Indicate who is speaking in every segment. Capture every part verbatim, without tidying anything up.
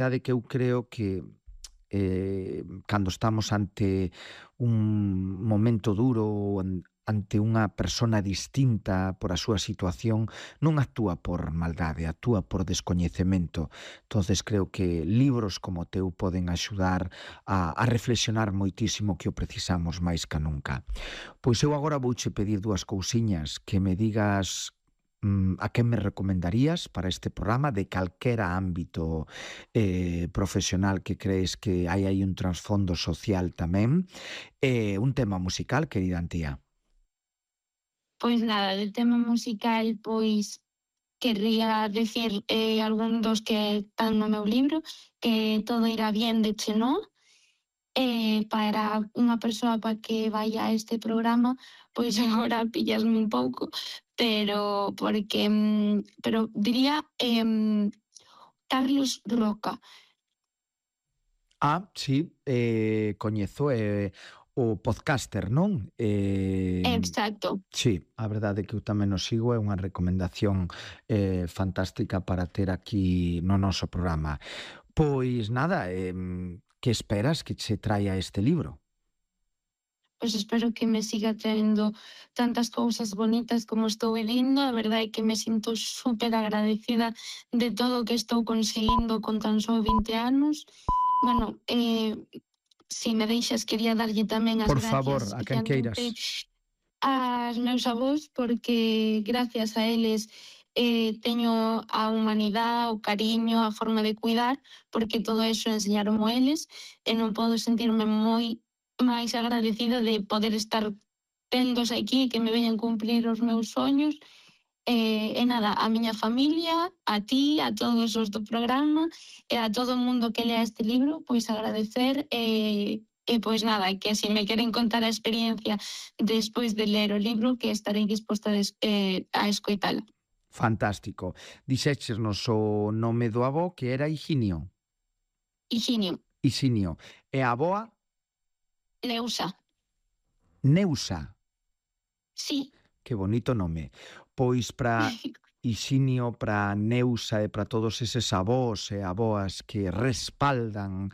Speaker 1: verdade que eu creo que eh, cando estamos ante un momento duro ou an- ante unha persona distinta por a súa situación, non actúa por maldade, actúa por descoñecemento. Entonces creo que libros como o teu poden axudar a, a reflexionar moitísimo que o precisamos máis ca nunca. Pois eu agora vouche pedir dúas cousiñas, que me digas mm, a quen me recomendarías para este programa de calquera ámbito eh, profesional que crees que hai aí un trasfondo social tamén, e un tema musical, querida Antía.
Speaker 2: Pois nada, de tema musical, pois querría decir eh, algún dos que están no meu libro, que Todo irá bien de Chenó, eh, para unha persoa para que vaya a este programa, pois agora pillasme un pouco, pero porque, mm, pero diría em, Carlos Roca.
Speaker 1: Ah, sí, eh, coñezo eh, o podcaster, non? Eh,
Speaker 2: Exacto.
Speaker 1: sí, a verdade é que eu tamén o sigo, é unha recomendación eh, fantástica para ter aquí no noso programa. Pois nada, eh, que esperas que se traia este libro?
Speaker 2: Pois espero que me siga traendo tantas cousas bonitas como estou lendo. A verdade é que me sinto super agradecida de todo o que estou conseguindo con tan só vinte anos. Bueno, eh, si me deixas, quería darlle tamén as
Speaker 1: Por
Speaker 2: gracias
Speaker 1: favor, a quen
Speaker 2: especialmente
Speaker 1: queiras.
Speaker 2: aos meus avós, porque gracias a eles eh, teño a humanidade, o cariño, a forma de cuidar, porque todo eso enseñaron eles, e non podo sentirme moi máis agradecida de poder estar tendos aquí, que me veñan cumplir os meus soños. E, e nada, a miña familia, a ti, a todos os do programa e a todo o mundo que lea este libro, pois agradecer e, e pois nada, que se me queren contar a experiencia despois de ler o libro, que estarei disposta a, des, eh, a escoitala.
Speaker 1: Fantástico. Dixéchenos o nome do avó que era Higinio.
Speaker 2: Higinio,
Speaker 1: Higinio. E a avoa
Speaker 2: Leusa,
Speaker 1: Neusa.
Speaker 2: sí.
Speaker 1: Que bonito nome. Pois para Higinio, para Neusa e para todos eses avós e avoas que respaldan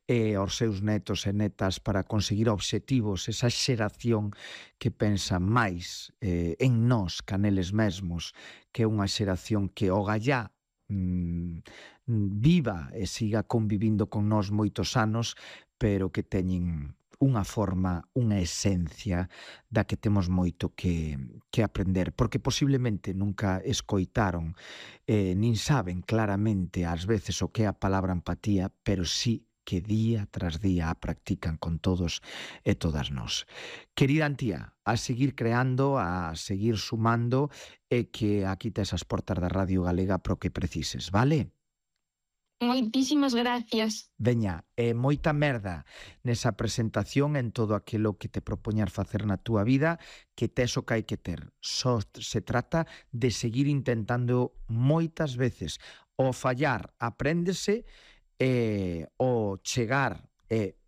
Speaker 1: eh, aos seus netos e netas para conseguir obxectivos, esa xeración que pensa máis eh, en nós ca neles mesmos, que é unha xeración que o gallá mm, viva e siga convivindo con nós moitos anos, pero que teñen unha forma, unha esencia da que temos moito que, que aprender, porque posiblemente nunca escoitaron, eh, nin saben claramente ás veces o que é a palabra empatía, pero sí que día tras día a practican con todos e todas nós. Querida Antía, a seguir creando, a seguir sumando e que aquí tes as portas da Radio Galega pro que precises, vale?
Speaker 2: Moitísimas gracias.
Speaker 1: Veña, e moita merda nesa presentación, en todo aquilo que te propoñar facer na túa vida, que tes o que hai que ter. Só se trata de seguir intentando moitas veces. O fallar apréndese, e o chegar e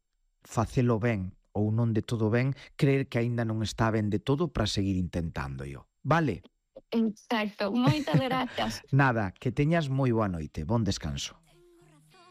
Speaker 1: facelo ben ou non de todo ben, creer que aínda non está ben de todo para seguir intentándolo. Vale?
Speaker 2: Exacto. Moitas gracias.
Speaker 1: Nada, que teñas moi boa noite. Bon descanso.